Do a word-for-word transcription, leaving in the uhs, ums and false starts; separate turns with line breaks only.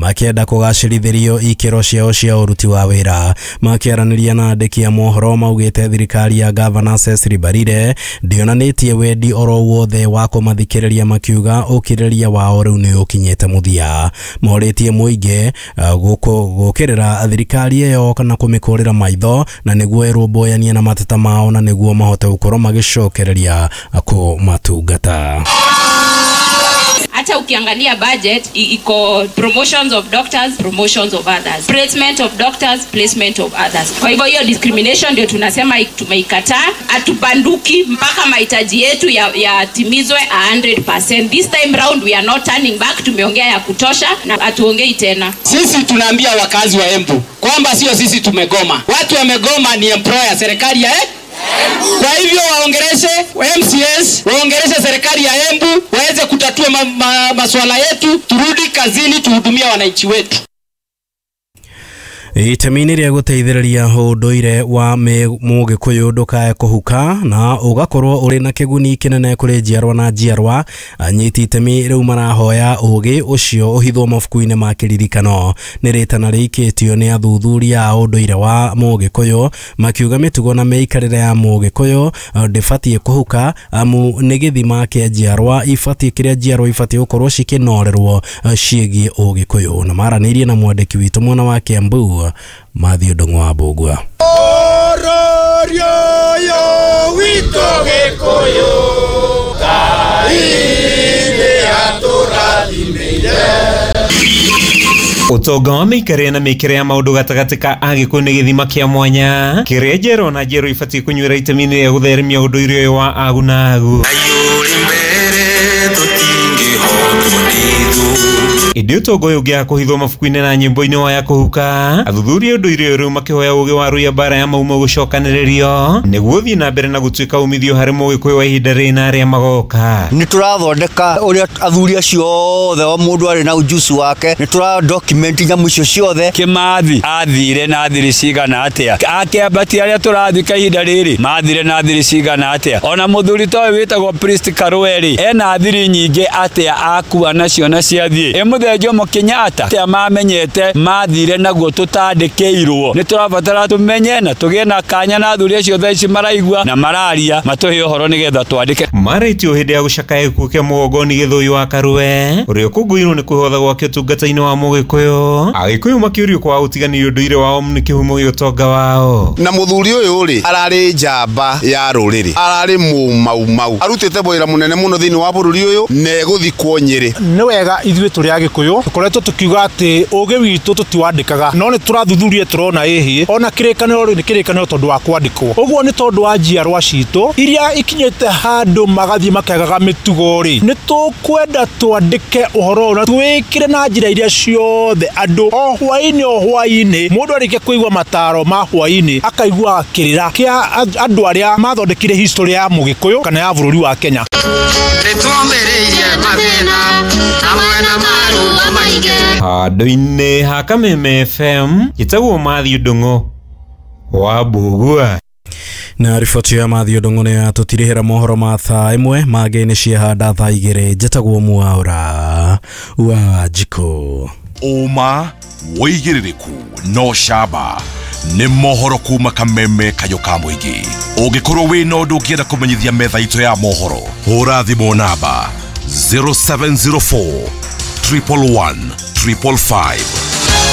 Makĩenda kũgacĩrithĩrio ikĩro ciao cia ũruti wa wĩra. Makĩaranĩria na andĩki a mohoro maugĩte thirikari ya Gavana Cecily Mbarire ndĩonanĩtie wendi oro wothe wa kũmathikĩrĩria, makiuga ũkirĩrĩria wao rĩu nĩ ũkinyĩte mũthia. Morĩtie mũingĩ gũkĩrĩra thirikari ĩyo kana kũmĩkũrĩra maitho na nĩguo ĩrũmbũyanie na mateta mao na nĩguo mahote gũkorwo magĩcokereria kũmatungata.
Hata ukiangalia budget iko promotions of doctors, promotions of others, placement of doctors, placement of others. Kwa hivyo hiyo discrimination ndio tunasema tumeikataa. Hatubanduki mpaka mahitaji yetu yatimizwe ya one hundred percent. This time round we are not turning back. Tumeongea ya kutosha na hatuongei tena.
Sisi tunaambia wakazi wa Embu kwamba sio sisi tumegoma. Watu wamegoma ni employer, serikali ya eh? Kwa hivyo waongereze M C S, waongereze serikali ya Embu, waweze kutatua ma, ma, masuala yetu, turudi kazini tuhudumia wananchi wetu.
Itemi-inĩ rĩa gũteithĩrĩria ũndũire wa Mũgĩkũyũ ndũkae kũhuka na ũgakorwo ũrĩ na kĩguni kĩnene kũrĩ njiarwa na njiarwa, anyiti itemi rĩu marahoya ũgĩ ũcio ũhithwo mabuku-inĩ ma kĩririkano. Nĩ rĩtana rĩikĩtio nĩ athuthuria a ũndũire wa Mũgĩkũyũ makiuga mĩtugo na mĩikarĩre ya Mũgĩkũyũ ndĩbatiĩ kũhuka, amu nĩ gĩthima kĩa njiarwa ibatiĩ kĩrĩa njiarwa ibatiĩ gũkorwo cikĩnorerwo ciĩgiĩ Ũgĩkũyũ. Na maranĩirie na mwandĩki witũ mwena wa Kiambu Matthew Ndung'u wa Mbũgua.
Ũtonga wa mĩikarĩre na mĩkĩre ya maũndũ gatagatĩ ka Agĩkũyũ nĩ gĩthima kĩa mwanya kĩrĩa njerũ na njerũ ibatiĩ kũnyuĩra itemi-inĩ rĩa gũtheremia ũndũire ũyũ wa agu na agu. Ĩndĩ ũtonga ũyũ ũngĩaga kũhithwo mabuku-inĩ na nyĩmbo-inĩ waya kũhuka, athuthuria ũndũire ũyũ rĩu makĩhoya ũgĩ wa rũiya mbara ya maumo gũcokanĩrĩrio nĩguo ũthiĩ na mbere na gũtuĩka umithio harĩ Mũgĩkũyũ wa ihinda rĩrĩ na arĩa magoka.
Nĩ tũrathondeka ũrĩa athuri acio othe o mũndũ arĩ na ujuzi wake, nĩ tũra document nyamũ icio ciothe.
Kĩmathi athire na thiri cigana atĩa, akĩambatia arĩa tũrathika ihinda rĩrĩ mathire na thiri cigana atĩa, ona mũthuri ta ũyũ wĩtagwo Priest Karũe-rĩ ena thiri nyingĩ atĩa akua nacio na ciathiĩ. Mũthee Jomo Kenyatta atia mamenyete mathire naguo tutandĩkĩirwo. Nĩ tũrabatara tũmenye na tũgĩe na kanya na athuri acio thaa ici maraigua na mararia matũhe ũhoro nĩgetha twandĩke.
Marĩtio hĩndĩ ya gũcakaya gĩkuũ kĩa Mũgongoni Gĩthũi wa Karue ũrĩa ũkũngũĩirwo nĩ kwĩhotha gwake ũtungata-inĩ wa Mũgĩkũyũ, Agĩkũyũ makĩũrio kwaga gũtiganĩria ũndũire wao nĩ kĩhumo gĩa ũtonga wao.
Na mũthuri ũyũ rĩ ararĩ njamba ya rũrĩrĩ, ararĩ mũmaumau, arutĩte wĩra mũnene mũno thĩinĩ wa bũrũri ũyũ na egũthikwo Nyĩrĩ.
Nĩ wega ithuĩ tũrĩ Agĩkũyũ tũkoretwo tũkiuga atĩ ũgĩ witũ tũtiwandĩkaga, no nĩ tũrathuthuria tũrona ĩhĩ ona kĩrĩkanĩro rĩ nĩ kĩrĩkanĩro tondũ wa kwandĩkwo. Ũguo nĩ tondũ wa njiarwa citũ iria ikinyĩte handũ magathiĩ makegaga mĩtugo rĩ, nĩ tũkwenda twandĩke ũhoro ũyũ na twĩkĩre na njĩra iria ciothe andũ o hwaĩ-inĩ o hwaĩ-inĩ mũndũ arĩkia kũigua mataro ma hwaĩ-inĩ akaigua kĩrĩra kĩa andũ arĩa mathondekire history ya Mũgĩkũyũ kana ya bũrũri wa Kenya.
Handũ-inĩ ha Kameme F M njĩtagwo Matthew Ndung'u wa Mbũgua.
Na riboti ya Matthew Ndung'u nĩ yatũtirihĩra mohoro ma thaa ĩmwe mangĩ nĩ ciehanda thaa igĩrĩ. Njĩtagwo Mwaura wa Njikũ.
Ũma wĩigĩrĩrĩku no camba nĩ mohoro kuma Kameme kayũ ka mũingĩ. Ũngĩkorwo wĩna ũndũ ũngĩenda kũmenyithia metha itũ ya mohoro, hũra thimũ namba zero seven zero four triple one triple five.